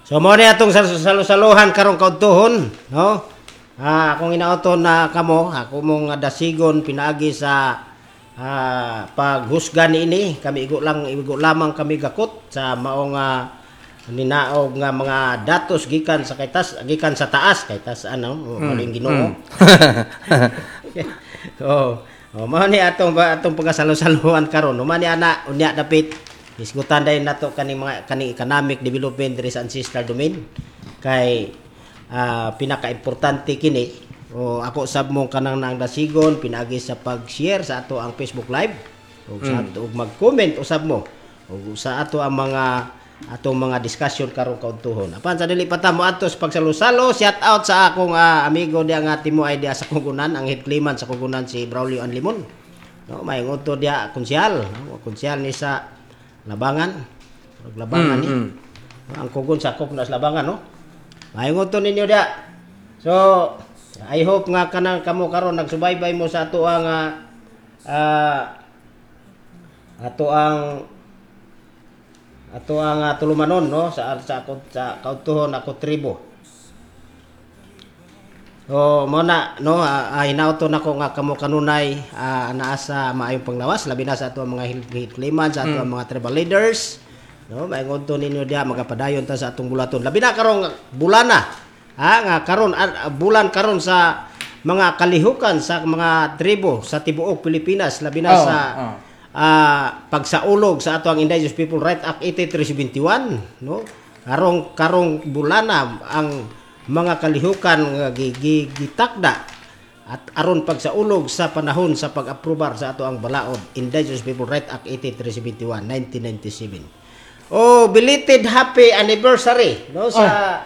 So mo ni atong salo-saluhan karong kaudtuhon, no? Akong inauton na kamo, ako mong dasigon pinaagi sa paghusga niini. Kami igo lang, igo lamang kami gakot sa maong ninaog nga mga datos gikan sa kaytas, gikan sa taas, kay tas ano, maling Ginoo. Oh, mao ni atong atong pagkasalo-saluhan karon. Mao ni ana, unya dapit hisgutan dayon nato kaning mga kaning economic development diri sa ancestral domain kay pinaka-importante kini. O ako sab mo kanang nang dasigon pinaagi sa pag-share sa ato ang Facebook Live ug sa ato ug mag-comment usab mo ug sa ato ang mga atong mga discussion karong kaudtuhon. Apan sa dili pa ta mo adto sa pagsalusalo, shout out sa akong amigo diya nga timuay diya sa Kugunan, ang head clayman sa Kugunan, si Braulio Anlimon. No, may ngodto diya konsyal, no? Konsyal ni sa Labangan. Murag Labangan ni. Ang kugon sakop na sa Labangan, no? May ngodto ninyo diya. So, I hope nga kanang kamo karon nagsubaybay mo sa ato ang ato ang tulumanon, no, sa ako sa kaudtuhon ako tribo. So mo na, no, hinauto nako nga kamo kanunay naa sa maayong panglawas, labi na sa ato ang mga head claimant, sa ato ang mga tribal leaders, no? May ngodto ninyo diha, magapadayon ta sa atong bulaton, labi na karong bulana, ha, nga karon bulan karon sa mga kalihukan sa mga tribo sa tibuok Pilipinas, labi na sa pagsaulog sa ato ang Indigenous People Right Act 8371, no? Karong karong bulana ang mga kalihukan nga gitakda at aron pagsaulog sa panahon sa pag-aprobar sa ato ang balaod Indigenous People Right Act 8371 1997. Oh, belated happy anniversary, no, sa